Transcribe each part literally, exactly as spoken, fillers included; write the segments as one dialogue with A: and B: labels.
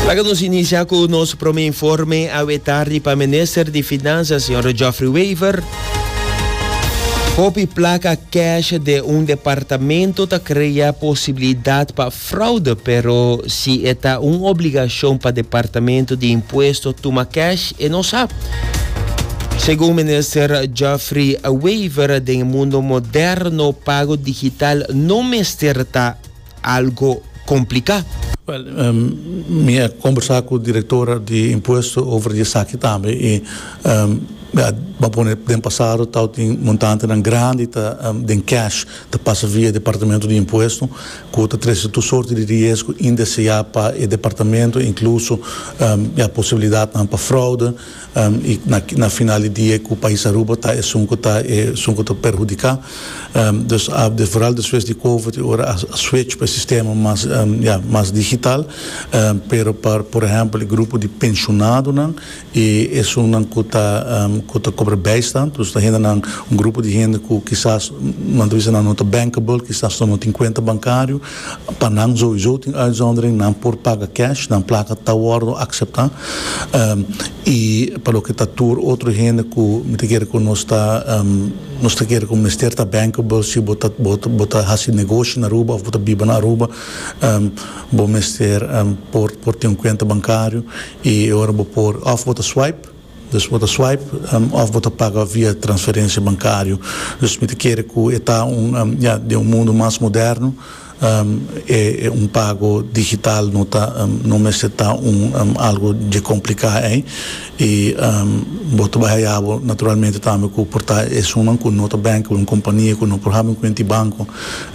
A: Laga nos inicia cu nos prome informe awe tardi pa Minister di Finansa, señor Geoffrey Wever. Hopi placa cash den un departamento ta crea posibilidad pa fraude, pero si ta un obligacion pa Departamento di Impuesto tuma cash, e no sabi. Segun Minister Geoffrey Wever, den mundo moderno, pago digital no mester ta algo complica.
B: Wel, um, mi a combersa cu e director di impuesto over di esaki tambe y um, ja, ban pone den pasado tabatin montantenan grandi ta um, den cash ta pasa via departamento di impuesto cu ta trece tur sorto di riesgo indesea pa e departamento, incluso um, ja, posibilidad pa fraude um, y na, na final di dia cu pais Aruba ta esun cu ta esun cu ta perhudica um, dus uh, de, vooral despues di COVID ora a, a switch pa sistema mas um, ja, mas digital um, pero pa por ehempel e grupo di pensionadonan y esunnan cu ta um, cu ta cobra bijstand, dus ta nan un grupo di hende cu kisas nan ta no ta bankable, kisas no tin cuenta bancario, pa nan sowieso tin uitzondering, nan por paga cash, nan placa ta wordo acepta um, y pa loke ta tur otro hende cu mi ta kere cu nos ta um, nos ta kere cu mester ta bankable si bo ta bo ta bo ta haci negoshi na Aruba of bo ta biba na Aruba um, bo mester um, por por tin un cuenta bancario y ora bo por of bo ta swipe, dus bo ta swipe um, of bo ta paga via transferencia bancario. Dus mi ta kere cu ta un um, ja, den un mundo mas moderno um, e, e un pago digital no ta um, no mester ta un um, algo di complica eh? Y um, bo ta bay naturalmente tambe cu por ta esun cu no ta banco, un compania cu no por haya un cuenta banco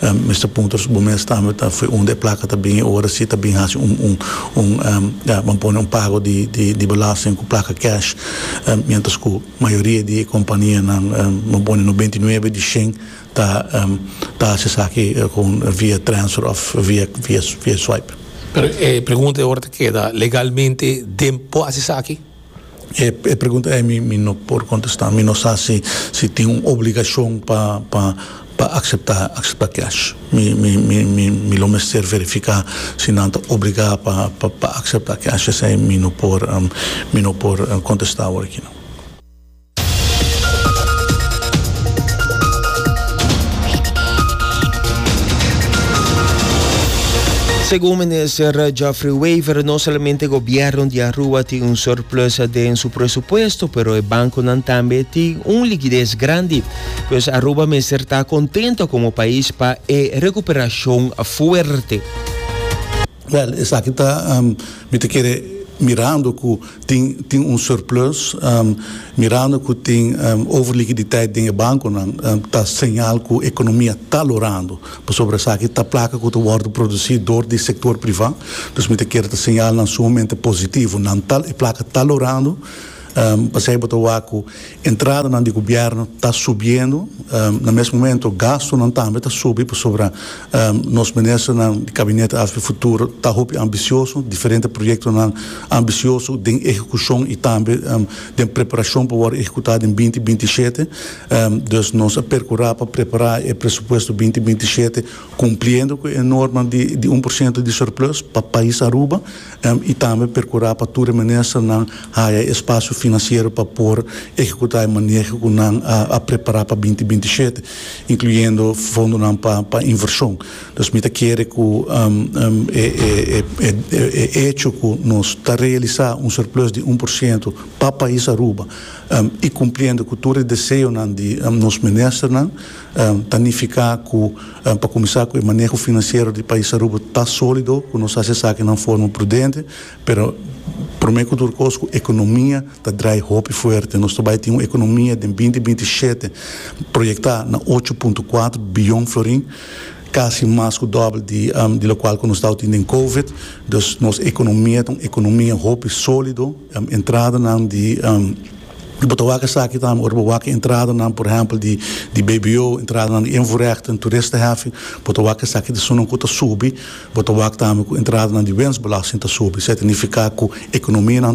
B: um, mester puntra bo mes tambe ta for unda e placa ta bin ora si ta bin haci un un un um, ja, ban pone un pago di di di belasting cu placa cash um, mientras cu mayoria di companianan um, ban pone nobenta i nuebe di shen ta um, ta esaki cu via transfer of via via via swipe.
C: Pero eh, pregunta awor ta keda legalmente den por haci esaki?
B: E, e pregunta ey mi, mi no por contesta. Mi no sa si, si tin un obligacion pa pa pa acepta acepta cash. Mi mi mi mi, mi lo mester verifica si nan ta obliga pa pa pa acepta cash. Esey mi no por um, mi no por um, contesta awor aki no.
A: Segun Minister Geoffrey Wever, no solamente gobierno di Aruba tin un surplus den su presupuesto, pero e banconan tambe tin un likides grandi. Pues Aruba mester ta contento como pais pa e recuperacion fuerte.
B: Wel, esaki ta um, mi ta kere mirando cu tin tin un surplus, um, mirando cu tin um, overliquiditeit den banconan, um, ta señal cu economia ta lorando. Pasobra esaki ta placa cu ta wordo produci door di sector priva. Dus mi ta kere ta señalnan sumamente positivo. Nan ta e placa ta lorando. Um, pasey bo ta wak cu entradanan di gobierno ta subiendo, um, na mesun momento gastonan tambe ta subi pasobra um, nos ministernan di gabinete A V P Futuro ta hopi ambicioso, diferente proyectonan ambicioso den ehecucion y tambe um, den preparacion pa ehecuta den binti binti i shete. Um, dus nos a percura pa prepara e presupuesto binti binti i shete cumpliendo cu e norma di, di un porciento di surplus pa pais Aruba um, y tambe percura pa tur ministernan haya espacio financiero pa por ehecuta e maneho cu nan a, a prepara pa binti binti i shete, incluyendo fondonan pa pa inversion. Dus mi ta kere cu um, um, e, e, e, e, e hecho cu nos ta realisa un surplus di un porciento pa pais Aruba um, y cumpliendo cu tur e deseonan di um, nos ministernan, um, ta significa cu um, pa cuminsa cu e maneho financiero di pais Aruba ta solido, cu nos a haci esaki den forma prudente, pero prome cu tur cos, economia ta draai hopi fuerte. Nos tambe tin un economia di binti binti i shete proyecta na ocho punto cuater biyon florin, casi mas cu dobel di, um, di loke cu nos tabatin den COVID. Dus nos economia ta un economia hopi solido, um, entradanan di um, bo ta wak esaki tambe, ora bo wak entradanan, por ehempel, di, di B B O, entradanan di invoerrechten, toeristenheffing, bo ta wak esaki ta esunnan cu ta subi, bo ta wak tambe cu entradanan di winstbelasting ta subi. Esey ta significa cu economia,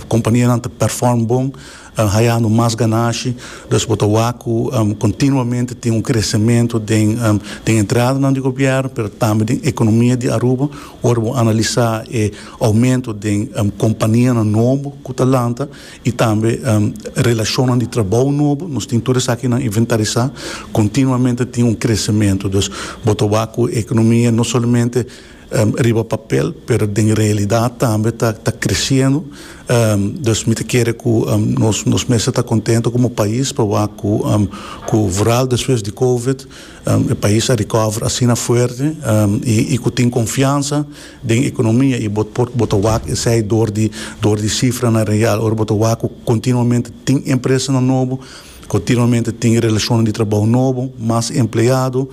B: companianan ta perform bon, uh, hayando mas ganashi, dus bo ta wak cu um, continuamente tin un crecemento den um, den entrada di gobierno, pero tambe den economia di Aruba. Ora bo analisa e aumento di um, compania nobo cu ta lanta y tambe um, relacion di trabou nobo, nos tin tur esaki na inventarisa, continuamente tin un crecemento. Dus bo ta wak cu economia no solamente um, riba papel, pero den realidad tambe ta ta creciendo. Um, dus mi ta kere cu um, nos nos mester ta contento como pais pa cu um, cu vooral despues di COVID um, e pais a recover asina fuerte um, y, y cu tin confiansa den economia y bo por bo ta wak esey door di door di cifranan real. Ora bo ta wak continuamente tin empresa nobo, continuamente tin relacion di trabou nobo, mas empleado,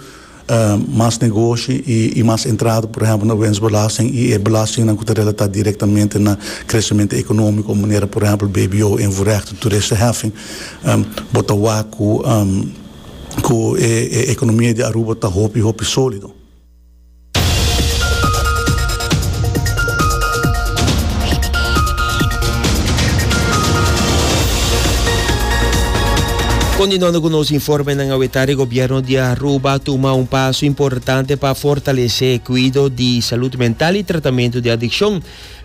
B: uh, mas negoshi y, y mas entrada, por ehempel, na winstbelasting y e belasting cu ta relata directamente na crecemento economico, manera, por ehempel, B B O, invoerrecht, toeristenheffing, um, bo ta wak cu um, cu e, e economia di Aruba ta hopi hopi solido.
A: Continuando cu nos informenan awe tardi, gobierno di Aruba a tuma un paso importante pa fortalece cuido di salud mental y tratamento di adiccion.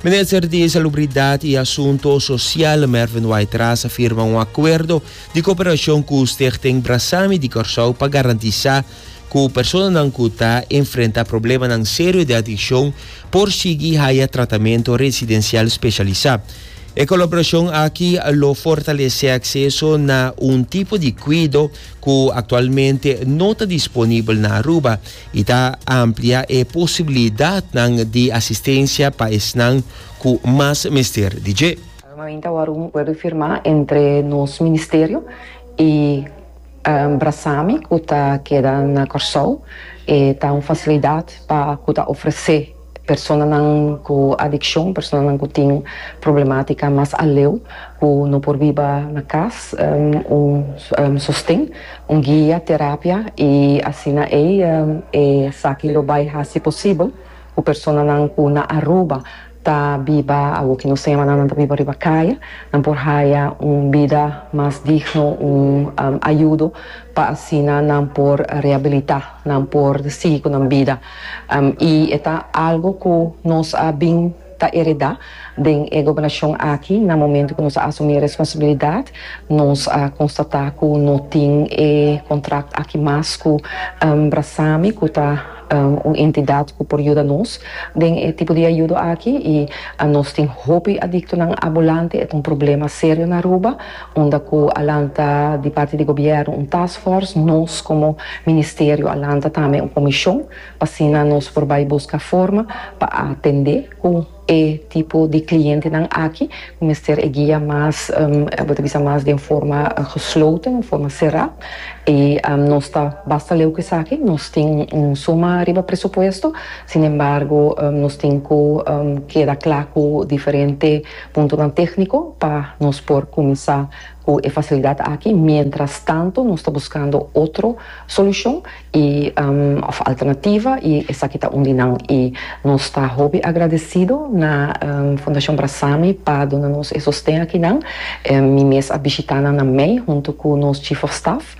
A: Minister di Salubridad y Asunto Social, Mervin Wyatt-Ras, a firma un acuerdo di cooperacion cu Stichting Brasami di Corsou pa garantisa cu personanan cu ta enfrenta problemanan serio di adiccion por sigui haya tratamento residencial specialisa. E colaboracion aki lo fortalece acceso na un tipo di cuido cu actualmente no ta disponibel na Aruba y ta amplia e posibilidad di asistencia pa esnan cu mas mester di dje.
D: Normalmente awor un acuerdo firma entre nos ministerio y um, Brasami, cu ta keda na Corsou, y ta un facilidad pa cu ta ofrece personanan cu adiccion, personanan cu tin problematica mas aleu, cu no por biba na cas, um, un, un sosten, un guia, terapia y asina ey um, esaki lo bay haci posibel cu personanan cu na Aruba ta biba algo cu nos ta yama nan ta biba riba caya, nan por haya un bida mas digno, un um, ayudo pa asina nan por rehabilita, nan por sigui cu nan bida. Um, y ta algo cu nos a bin ta hereda den e gobernacion aki. Na momento cu nos a asumi responsabilidad, nos a constata cu no tin e contrato aki mas cu um, Brasami, cu ta um, un entidad cu por yuda nos den e tipo di ayudo aki, y uh, nos tin hopi adictonan ambulante. E ta un problema serio na Aruba, unda cu a lanta di parti di gobierno un task force, nos como ministerio a lanta tambe un comision pa asina nos por bay busca forma pa atende cu e tipo di clientenan aki, mester e guia mas, um, bo mas di forma gesloten, di forma cera. Y um, nos ta basta leu cu esaki, nos tin un suma riba presupuesto, sin embargo, um, nos tin cu um, keda cla cu diferente punto tecnico pa nos por cuminsa cu e facilidad aki. Mientras tanto, nos ta buscando otro solucion y um, of alternativa y esaki ta un di nan, y nos ta hopi agradecido na um, Fundacion Brasami pa duna nos e sosten aki nan. Um, mi mes a bishita na mei hunto cu nos chief of staff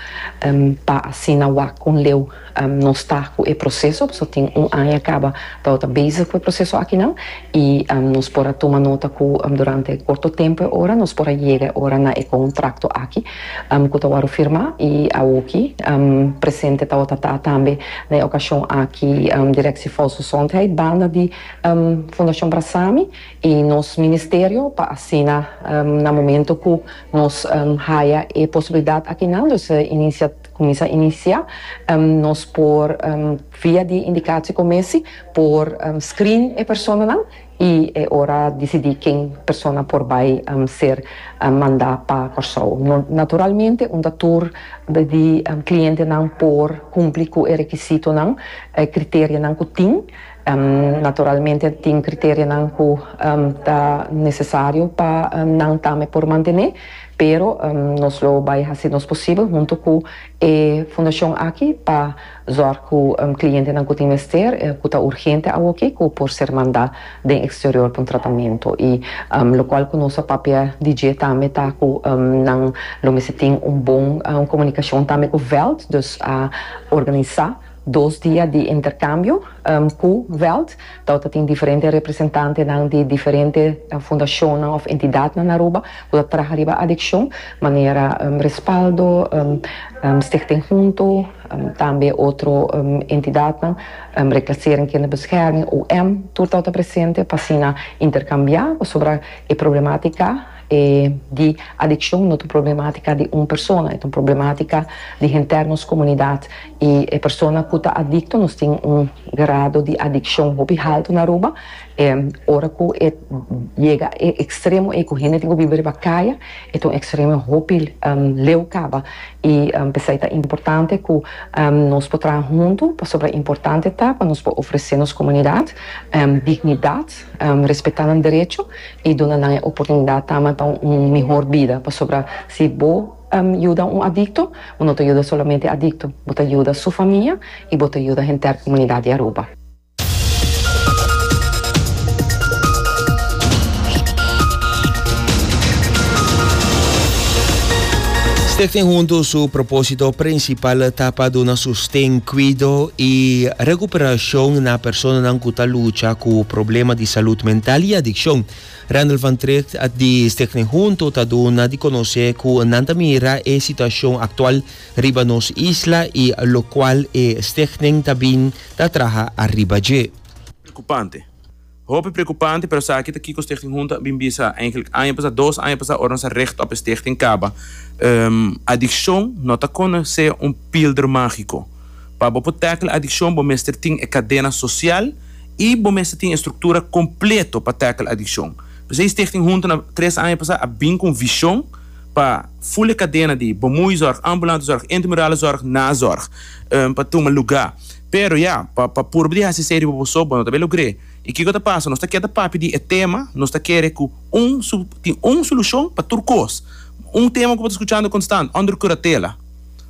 D: um, pa asina wak con leu um, nos ta cu e proceso, so tin un aña caba ta ta bezig cu e proceso aki nan y um, nos por a tuma nota cu um, durante corto tempo ora nos por a yega ora na e contrato aki um, cu ta firma y aki um, presente ta ta tambe na ocasion aki um, Directie Volksgezondheid banda di um, Fundacion Brasami y nos ministerio pa asina um, na momento cu nos um, haya e posibilidad aki nan, dus uh, inicia cuminsa inicia um, nos por um, via di indicatiecommissie por um, screen e personanan y e ora dicidi ken persona por bay um, ser um, manda pa Corsou. No, naturalmente, unda tur di um, clientenan por cumpli cu e requisitonan, eh, criterionan cu tin, Um, naturalmente tin criterionan cu um, ta necesario pa um, nan tambe por mantene, pero um, nos lo bay haci nos posibel hunto cu e fundacion aki pa zorg cu um, clientenan cu tin mester, eh, cu ta urgente aki, cu por ser manda den exterior pa un tratamento y um, locual cu nos a papia di dje tambe ta cu um, nan lo mester tin un bon um, comunicacion tambe cu veld, dus a organisa dos dia di intercambio um, cu veld, dat tin diferente representantenan di diferente uh, fundacion of entidad na Aruba, cu ta traha riba adiccion, manera um, Respaldo, um, um, Stichting Hunto, um, tambe otro um, entidad, um, Reclassering Kinderbescherming, O M, tur ta presente pa asina intercambia sobre e problematica eh, di adiccion, no ta problematica di un persona, e un problematica di henter nos comunidad. Y e persona cu ta adicto, nos tin un grado di adiccion hopi halto na Aruba, eh, ora cu e yega e extremo y cu hende tin cu biba riba caya, e un extremo hopi um, leu caba. Y um, pesey ta importante cu um, nos por traha hunto, pasobra importante ta pa nos ofrece nos comunidad um, dignidad, um, respeta nan derecho y duna nan oportunidad tambe pa un mihor bida, pasobra si bo um, yuda un adicto, bo no ta yuda solamente adicto, bo ta yuda su famia y bo ta yuda henter comunidad di Aruba.
A: Stichting Hunto su proposito principal ta pa duna sosten, cuido y recuperacion na personanan cu ta lucha cu problema di salud mental y adiccion. Randall van Tricht di Stichting Hunto ta duna di conoce cu nan ta mira e situacion actual riba nos isla y locual e Stichting ta bin ta traha ariba dje.
E: Preocupante. Hopi preocupante, pero sa aki kico Stichting Hunto bin bisa eigenlijk aña pasa, dos aña pasa, ora nos a richt op Stichting caba. Um, adiccion no ta conoce un pilder magico. Pa bo por tackle adiccion, bo mester tin e cadena social y bo mester tin structura completo pa tackle adiccion. Pues Stichting Hunto na tres aña pasa a bin cu vision pa full cadena di bemoeizorg, ambulante zorg, intramurale zorg, nazorg, um, pa tuma lugar. Pero ja, pa pa purba di haci esey bo so, bo no ta bay logra. Y kico ta pasa? Nos ta keda papia di e tema, nos ta kere cu un tin un solucion pa tur cos. Un tema cu bo ta scuchando constant, onder curatela.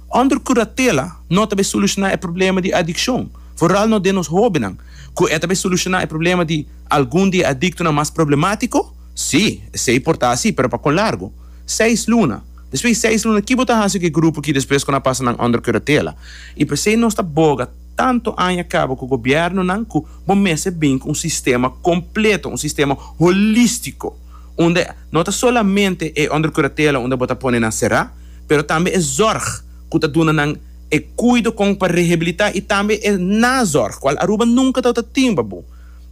E: Onder curatela no ta bay soluciona e problema di adiccion. Vooral no den nos hobennan. Cu e ta bay soluciona e problema di algun di adictonan mas problematico? Si, esey por ta asina, pero pa con largo. Seis luna. Despues seis luna, kico bo ta haci cu e grupo cu despues cu nan pasa nan onder curatela? Y pesey nos ta boga tanto aña caba cu gobiernonan cu bo mester bin cu un sistema completo, un sistema holistico, unda no ta solamente e onder curatela unda bo ta pone nan sera, pero tambe e zorg cu ta duna nan e cuido con pa rehabilita y tambe e nazorg, cual Aruba nunca ta tin, babu.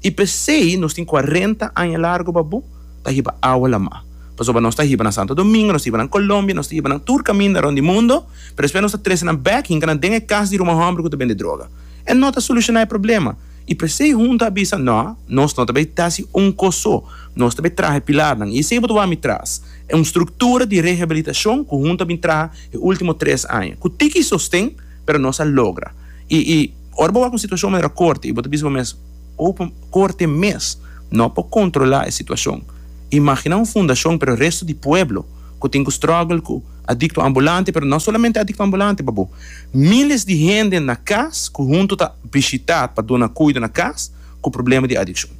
E: Y pesey nos tin cuarenta aña largo, babu, ta hiba awa lama. Pasobra nos ta hiba na Santo Domingo, nos ta hiba na Colombia, nos ta hiba na tur caminda rond di mundo, pero despues nos ta trece nan bek, hinca nan den e cas di ruman homber cu ta bende droga. E no ta soluciona e problema. Y pesey Hunto a bisa, no, nos no ta bay haci un cos so, nos ta bay traha pilarnan. Y esey bo ta mi tras. E un structura di rehabilitacion cu Hunto a bin traha e ultimo tres aña. Cu tiki sosten, pero nos a logra. Y, y ora bo wak un situacion manera corte, y bo ta bisa mes, open corte mes, no por controla e situacion. Imagina un fundacion, pero e resto di pueblo, cu tin cu struggle cu adicto ambulante, pero no solamente adicto ambulante, babu. Miles di hende na cas, cu Hunto ta bishita pa duna cuido na cas, cu problema di adiccion.